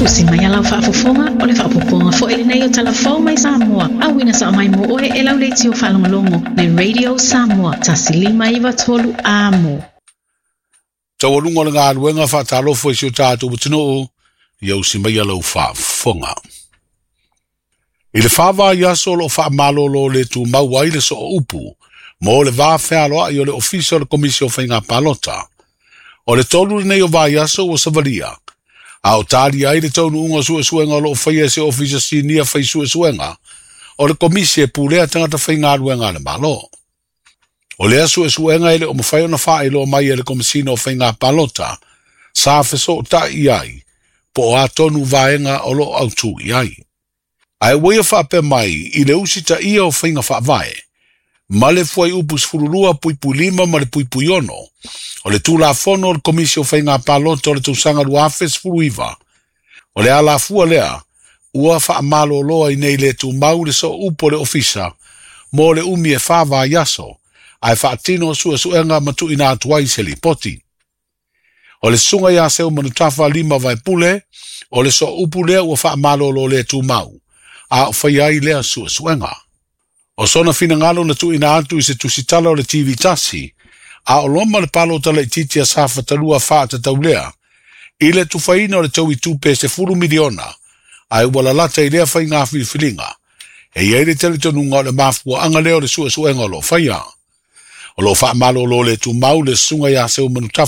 Usi mai a lau faafofoga, o le faaopoopoga foi lenei o Tala Fou mai Samoa, auina sao mai mo oe e lau leitio faalogologo le Radio Samoa 1593 Amo. Taualuga o le galuega faatalofa i si o tatou atunuu, ia usi mai a lau faafofoga. I le 4 vaiaso o loo faamalolo le tumau ai le sooupu mo le va fealoai o le Ofisa o le Komisi o Faiga Palota. O le 3 lenei o vaiaso ua savalia, a o talia ai le taunuuga o suesuega o loo faia e se ofisa sinia fai suesuega o le Komisi e pulea tagata faigaluega a le Malo. O lea suesuega e le o mafai ona faailoa mai e le Komesina o Faiga Palota sa fesootai i ai po o a tonu vaega o loo autū i ai. Ae ua ia faapea mai i le usitaia o faiga faavae ma le fuaiupu 12.5 ma le .6 o le Tulafono o le Komisi o Faiga Palota o le tausaga 2019, o le alafua lea ua faamalolo ai nei le tumau le sooupu o le ofisa mo le umi e 4 vaiaso ae faatino suesuega ma tuuina atu ai se lipoti. O le susuga ia Seumanutafa Lima Vaepule o le sooupu lea ua faamalolo le tumau a o faia ai lea suesuega. O sona finagalo na tuuina atu i se tusitala o le TV tasi, a o loma le palota laitiiti a Safata 2 faatatau lea i le tufaina o le taui tupe 10 miliona ae ua lalata i lea faiga filifiliga. E i ai le talitonuga o le mafuaaga lea o le suesuega o loo faia. O loo faamalolo le tumau le susuga ia Seumanutafa.